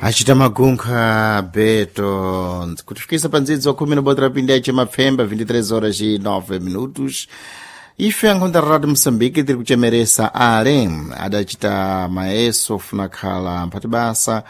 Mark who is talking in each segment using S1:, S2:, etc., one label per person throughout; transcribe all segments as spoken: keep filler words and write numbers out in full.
S1: Achita magunkha beto kutifikisa pa ndzidzo khumi na botera pindi ache mapfemba vinte e três horas e nove minutos. Ife ankhonda Radio Moçambique tiri kuchemeresa ale adachita maeso ofuna khala mphati basa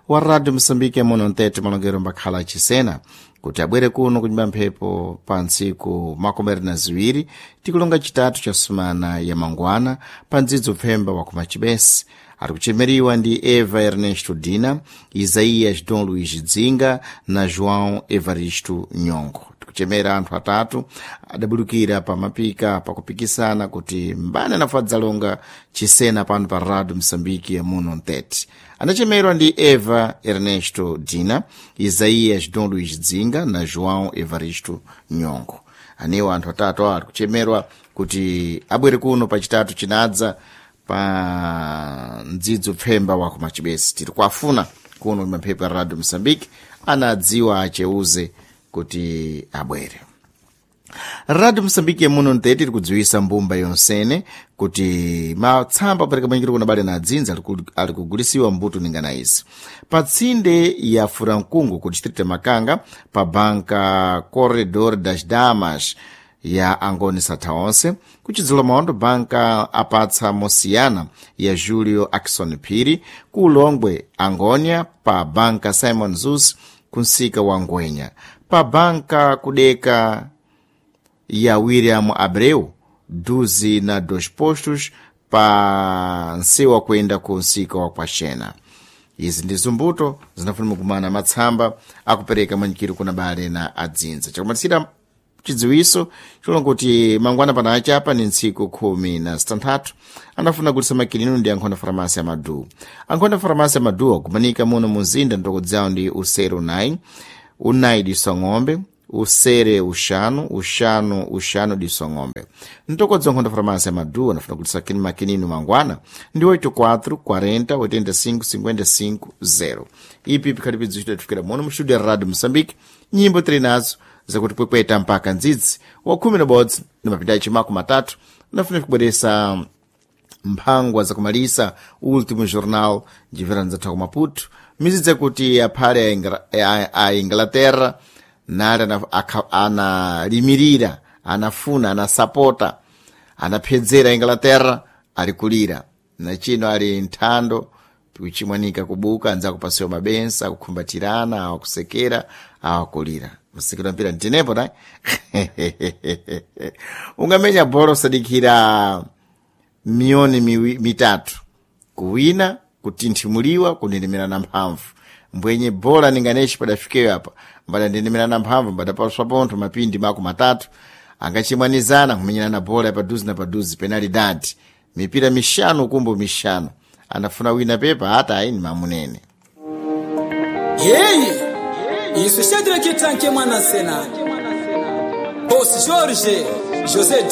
S1: wa Radio Moçambique muno mtete malongero mbakhala achisena kuti abwere kuno kunyumba mphepo pa ntsiku makumi na ziwiri tikulonga chitatu cha sumana ya mangwana pa ndzidzo pfemba wa kumachibesi. Ari kuchemeriwa ndi Eva Ernesto Dina, Isaías Dom Luís Dzinga na João Evaristo Nyongo. Tikuchemera anthu atatu adabulukira pa mapika pakupikisana kuti mbani anafadzalonga chisena pano pa Radio Moçambique muno mtete. Anachemerwa ndi Eva Ernesto Dina, Isaías Dom Luís Dzinga na João Evaristo Nyongo. Anewo anthu atatu awa ari kuchemerwa kuti abwere kuno pachitatu chinadza pa ndzidzo pfemba wa kumachibesi. Tiri kuafuna kuno mamphepo ya Radio Moçambique anadziwa acheuze kuti abwere. Radio Moçambique muno mtete tiri kudziwisa mbumba yonsene kuti matsamba apereka manyikiro kuna bale na adzinza ali kugulisiwa mbuto ningana izi pa tsinde ya Furankungu ku distrito ya Makanga pa banka Corredor das Damas ya Angoni Satha onse, kuchidzula maondo banka apatsa mosiyana ya Julio Akson Phiri, ku Ulongwe Angonia pa banka Simon Zus kunsika wa Ngwenya, pa banka kudeka ya William Abreu duzi na dos postos pa nsewa kuyenda ku nsika wa Kwaxena. Izi ndi zumbuto zinafunika kumana matsamba akupereka manyikiro kuna bale na adzinza. Chakumatisira chidziwiso chilonga kuti mangwana pana achapa ni ntsiku khumi na zitanthatu anafuna kutisa makinino ndi ankhonda faramasi ya Madu. Ankhonda faramasi ya Madu akumanika muno muzinda ndokodzawo ndi usere unayi, unayi diso ng'ombe, usere uxanu, uxanu, uxanu diso ng'ombe. Ntokodza nkhonda faramasi ya Madu anafuna kutisa makinino mangwana ndi oito quatro quarenta oitenta e cinco cinquenta e cinco zero. Ipi pikhali pidziwito tifikira muno mu studio ya Radio Moçambique. Nyimbo tiri nazo zakuti pwepweta mpaka ndzidzi wa khumi na bodzi na mapinda achimaku matatu unafuna kubweresa mphangwa zakumalisa Último Jornal njimvera nzathu ku Maputo mizidzi yakuti aphale a, a Inglaterra nali analimirira, anafuna, anasapota, anaphedzera Inglaterra ali kulira nachino ali nthando kuchimwanika kubuka anzakupasiwa mabensa akukhumbatirana awakusekera awakulira musikira mpira ntinepo ta ungamenya bolo usadikira miyoni miwi, mitatu kuwina kutinthimuliwa kunendemerana mphamvu mbwenye bola ninganeshi padafikeyo apa mbada mphamvu mbadapaswa pontho mapindi mako matatu angachimwanizana kumenyerana bola yapaduzi na paduzi penalidadi mipira mixanu kumbo mixanu anafuna wina pepa ata ayi ni mamunene.
S2: Yeyi isu Shadraki Tanke mwana sena Boss George José.